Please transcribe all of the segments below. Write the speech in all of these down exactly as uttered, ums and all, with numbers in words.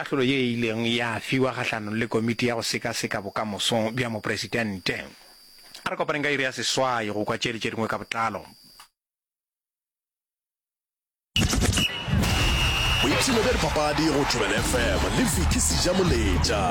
kahlolo ye e ileng ya fiwa kgahlanong le komiti ya go sekaseka bokamoso bja mopresidente. A re kopaneng ka iri ya seswai go kwa tše le tše dingwe ka botlalo. Boipshino bja dipapadi go Thobela F M le Vicky Sejamoletša.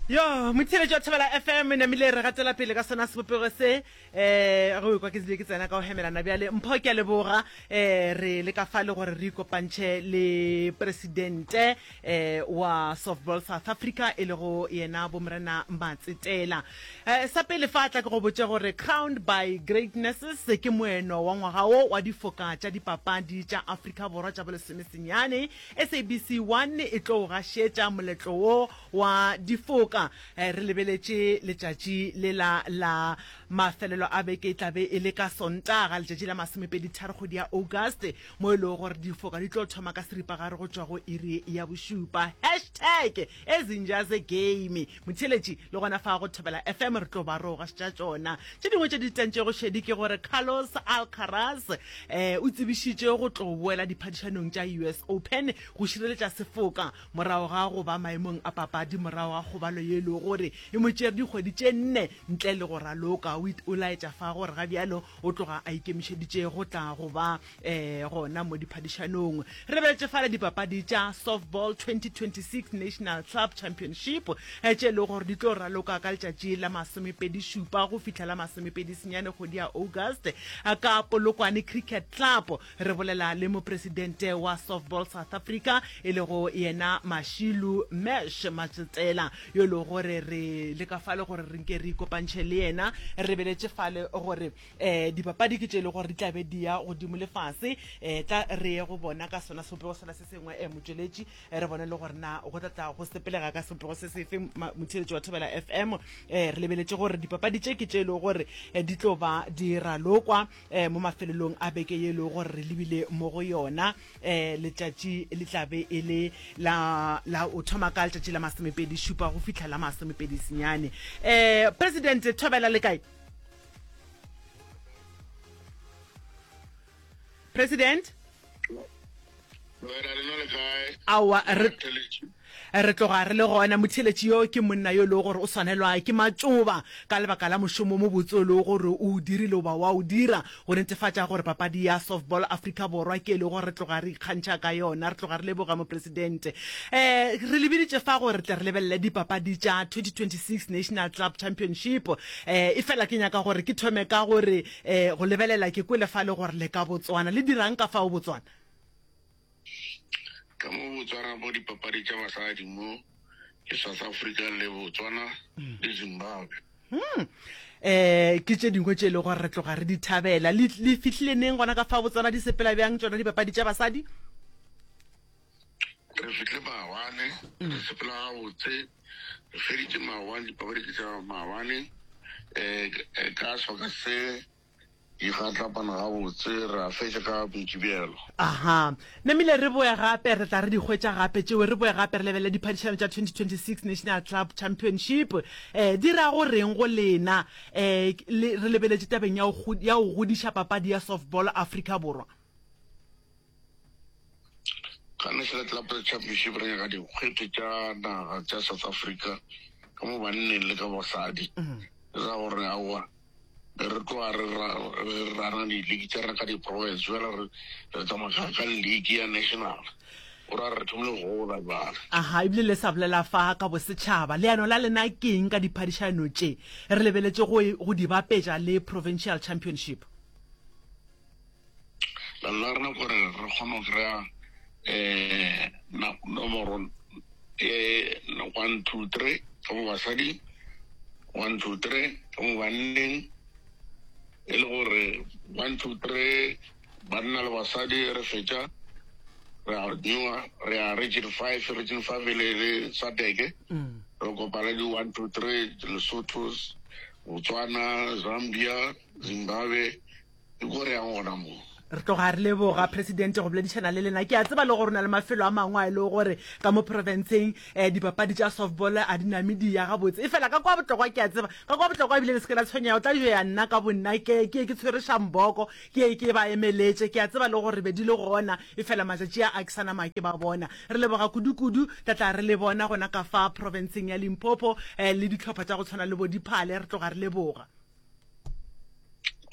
Yo, motheeletši wa Thobela F M, namile re gatela pele ka sona sebopego se. Um ge o ekwa ke tsebile ke tsena ka go hemelana bjale. Mpho, ke a leboga. Um re le ka fa le gore re ikopantšhe le presidente um wa Softball South Africa, e lego yena Bomorena Matsetela. Um sa pele fa tla ke go botše gore Crowned by Greatness ke moeno wa ngwaga wo wa difoka tša dipapadi tša Afrika Borwa tša bolesomesenyane. S A B C one e tlo gašetša moletlo wo wa difoka. Re lebeletše letšatši lela la mafelelo a beke, e tlabe e le ka Sontaga, letšatši la masomepedi tharo kgwedi ya August, mo e lego gore difoka di tlo thoma ka seripagare go tšwa go iri ya bošupa. Hashtag Ezinja Ze Game. Motheeletši, le gona fa go Thobela F M re tlo ba ro gašetša tšona. Tše dingwe tše di tantšego šedi ke gore Carlos Alcaraz um o tsebišitše go tlo boela diphadišanong tša U S Open go šireletša sefoka morago ga go ba maemong a papadi morago ga kgobalo ye e lego gore e mo tšere dikgwedi tše nne ntle le go raloka. O laetša fa gore ga bjalo o tloga a ikemišeditše go tla go ba um gona mo diphadišanong. Re lebeletše fale dipapadi tša Softball twenty twenty-six National Club Championship tše e lego gore di tlo raloka ka letšatši la masomepedi šupa go fihla la masomepedi senyane kgwedi ya August ka Polokwane Cricket Club. Re bolela le mopresidente wa Softball South Africa, e lego yena Mashilu Mesh Matsetela, yo e lego gore re le ka fale gore re nke re ikopantšhe le yena. Re lebeletše fale gore um dipapadi ke tše e lego gore di tla be di ya godimo le fase. um tla re ye go bona ka sona sebopego sela se sengwe, um motšweletši, re bone le gore na go tla tla go sepelega ka sebopego se sefe. Motheeletši wa Thobela F M, um re lebeletše gore dipapadi tše ke tše e lego gore di tlo ba di ralokwa um mo mafelelong a beke ye e lego gore re lebile mo go yona. um letšatši le tla be e le la la o thoma ka letšatši la masomepedi šupa go fihla la masomepedi senyane. um President, thobela, le kae, President? Wena lena le kae? Aowa, re re tloga re le gona. Motheeletši, yo ke monna yo e lego gore o swanelwa ke matšoba ka lebaka la mošomo mo botse o lego gore o dirile goba wa o dira go netefatša gore papadi ya softball Afrika Borwa ke e lego gore re tloga re ikgantšha ka yona. Re tloga re leboga, mopresidente. um re lebeditše fa gore tle re lebelele dipapadi tša twenty twenty-six National Club Championship, um e fela ke nyaka gore ke thome ka gore um go lebelela ke kwele fa le gore le ka Botswana le dirang ka fao Botswana? Ka mo Botswana bo dipapadi tša basadi mo ke South Africa le Botswana le Zimbabwe. um ke tše dingwe tše e lego gore re tloga re di thabela. Le le fihlile neng gona ka fa Botswana? Di sepela bjang tšona dipapadi tša basadi? Re fihle maabane, re sepela gabotse. Re feditše maabane, dipapadi ke tša maabane. um ka sebaka se di gatlapana gabotse, re a fetša ka Mokibelo. Aha, namile re boe gape, re tla re di hwetša gape tšeo. Re boe gape re lebelele diphadišano tša twenty twenty-six National Club Championship. um di ra go reng go lena, um re lebeletše tabeng ya go ya go godiša papadi ya softball Afrika Borwa? Ka National Club Championship re nyaka dikgwete tša naga tša South Africa ka mo banneng le ka basadi. Re ra gore aowa, re tloga re rana di-league tša rena ka di-province, bjale re re tsamaya ka league ya national, o ra re thomile go gola bjale. Aha, ebile le sa bolela fa ka bosetšhaba, leano la lena ke eng ka diphadišano tše, re lebeletše go go di bapetša le provincial championship? Leano la rena kore re kgone go kry-a um nomoro um one two three ka mo basadi, one two three ka mo banneng, e le gore one two three banna le basadi. Re fetša re a newa, re ya region five, region five e le le S A D C, re kopana di one two three Lesotho, Botswana, Zambia, Zimbabwe, ke ko re yang gona mo. Re tloga re leboga Presidente go boledišana le lena. Ke a tseba le gore o na le mafelo a mangwe a e lego gore ka mo profenseng um dipapadi tša softball a di name di ya gabotse. Efela ka kwa Botlokwa ke a tseba, ka kwa Botlokwa ebile le se ke la tshwenyega, o tla jo ya nna ka bonna ke ke ye ke tshwere šamboko ke ye ke ba emeletše. Ke a tseba le gore be di le gona, efela matšatši a a ke sa nama ke ba bona. Re leboga kudu-kudu, tla tla re le bona gona ka fa profenseng ya Limpopo um le dihlopha tša go tshwana le bo Diphale. Re tloga re leboga.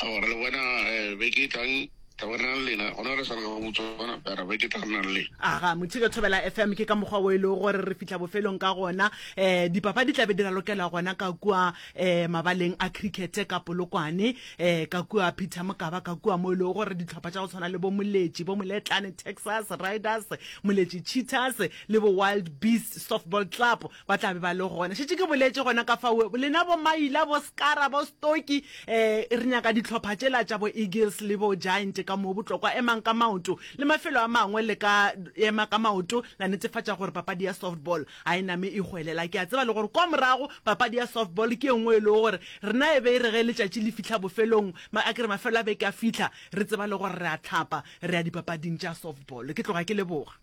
Aowa, re le bona beke e tlang, tla be re na le lena. Gona re sa le ka Botswana, ra beke e tlang re na le lena. Aga, Mothike Thobela F M, ke ka mokgwa wo e lego gore re fihla bofelong ka gona. Um dipapadi di tla be di ralokela gona ka kua um mabaleng a cricket ka Polokwane, um ka kua Peter Mokaba, ka kua mo e lego gore dihlopha tša go tshwana le bo Moletši, bo Moletlane Texas Riders, Moletši Cheetahs le bo Wild Beasts Softball Club ba tla be ba le gona. Šetše ke boletše gona ka fao, lena bo Maila, bo Skara, bo Stoki, um re nyaka dihlopha tšela tša bo Eagles le bo Giant ka moo Botlokwa. Emang ka maoto, le mafelo a mangwe le ka ema ka maoto la netefatša gore papadi ya softball ga e name e hwelela. Ke a tseba le gore kwa morago papadi ya softball ke e nngwe e lego gore rena e be e re ge letšatši le fihla bofelong, a ke re mafelo a beke a fihla, re tseba le gore re a hlapa re ya dipapading tša softball. Ke tloga ke leboga.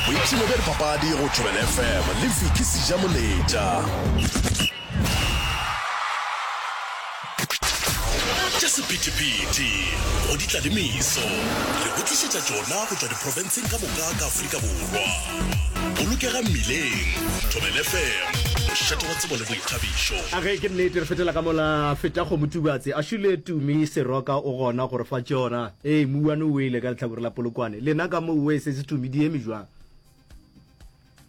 Boipshino bja dipapadi go Thobela F M le Vicky Sejamoletša. Tša sephethephethe go di tla le meso, re go tlišetša tšona go tšwa diprofenseng ka moka ka Afrika Borwa. Bolokega mmileng, Thobela F M, mošate wa tsebo le boithabišo. A ge ke nnete re fetela ka mola feta kgomo Tubatse a šule Tumi Seroka o gona go re fa tšona. Ee, mouwane o wele ka lehlakore la Polokwane. Lena ka mo we se se Tumi di eme jwang?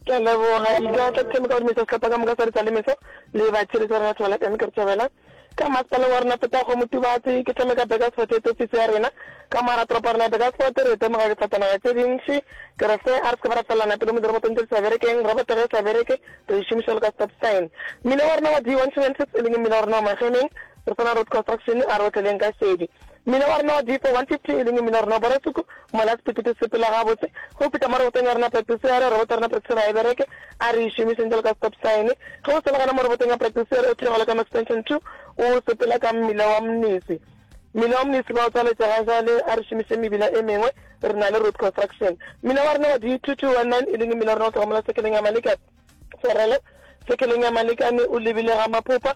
Ke a leboga. Ke tla thoma ka go dumedisa sehlopha ka moka sa Ditsa le Meso le batheeletši ba rena Thobela F M. Ke re thobela ka masepaleng wa rena Fetago Motubatse. Ke thome ka Burgersfort head office ya rena ka mo gara toropo ya rena ya Burgersfort. Re temoga difatanaga tše dintši. Ke re se a re se ke ba ra felelana pelo mo dirobotong tše di sa berekeng. Roboto ge e sa bereke re e šomiša bjalo ka stop sign. Mmila wa rena wa D one two nine six e leng mmila wa rena wa Magemeng re swana road construction a re otleleng ka šedi. Mmila wa rena wa D four one fifty e leng mmila wa rena wa Borasuku mola sephethephethe se sepela gabotse. Ge o fihla mo robotong ya rena Practice Area, roboto ya rena Practice Area ga e bereke, a re e šomišeng bjalo ka stop sign. Ge o sele gona mo robotong ya Practice Area o theogela ka mo Extension two o sepela ka mmila wa Mnisi. Mmila wa Mnisi ba o tswaletše ga jwale, a re šomišeng mebila e mengwe, re na le road construction. Mmila wa rena wa D two two one nine e leng mmila wa rena o tloga mola sekeleng ya Maleka, Tshwarelo, sekeleng ya Malekane o lebile ga Maphopa,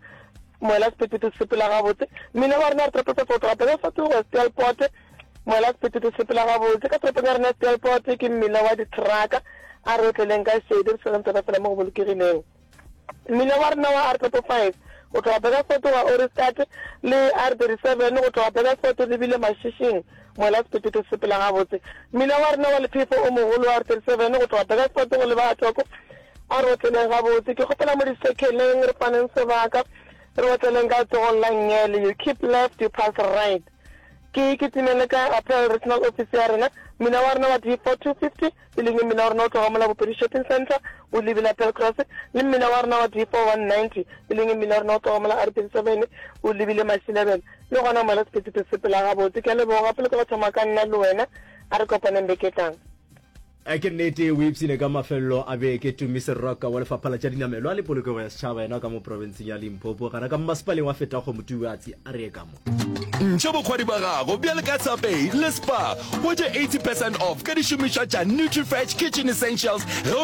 moela sephethephethe se sepela gabotse. Mmila wa rena re toropong go tloga Petersburg go ya Steelpoort, moela sephethephethe se sepela gabotse. Ka toropong ya rena ya Steelpoort ke mmila wa dithraka, a re otleleng ka šedi re swereng tsona fela mo go bolokegileng. Mmila wa rena wa R triple five go tloga Burgersfort go ya Ohrigstad le R thirty seven go tloga Burgersfort o lebile Mashishing, moela sephethephethe se sepela gabotse. Mmila wa rena wa lephefo o mogolo wa R thirty seven go tloga Burgersfort go leba Atloko a re otleleng gabotse. Ke kgopela mo disekheleng re faneng sebaka re otleleng ka letsogong la nngele, you keep left, you pass right. Ke kitimele ka Apparel Regional Office ya rena, mmila wa rena wa D four two fifty e leng mmila wa rena o tloga mola Bopedi Shopping Centre o lebile Apparel Cross, le mmila wa rena wa D four one ninety e leng mmila wa rena o tloga mola R thirty seven o lebile Mashilebele, le gona mola sephethephethe se sepela gabotse. Ke a leboga pele ke go thoma ka nna le wena, a re kopaneng beke e tlang. A ke nnete o ipshine ka mafelelo a beke Tumi Seroka wa Lefapha la tša Dinamelwa le Polokego ya Setšhaba yena ka mo profenseng ya Limpopo gana ka mmasepaleng wa Fetakgomo Tubatse a re ye ka mo. Ntšha bokgwari ba gago bjale ka Subway le Spar, hwetša eighty percent off ka dišomišwa tša Nutrifresh Kitchen Essentials ge o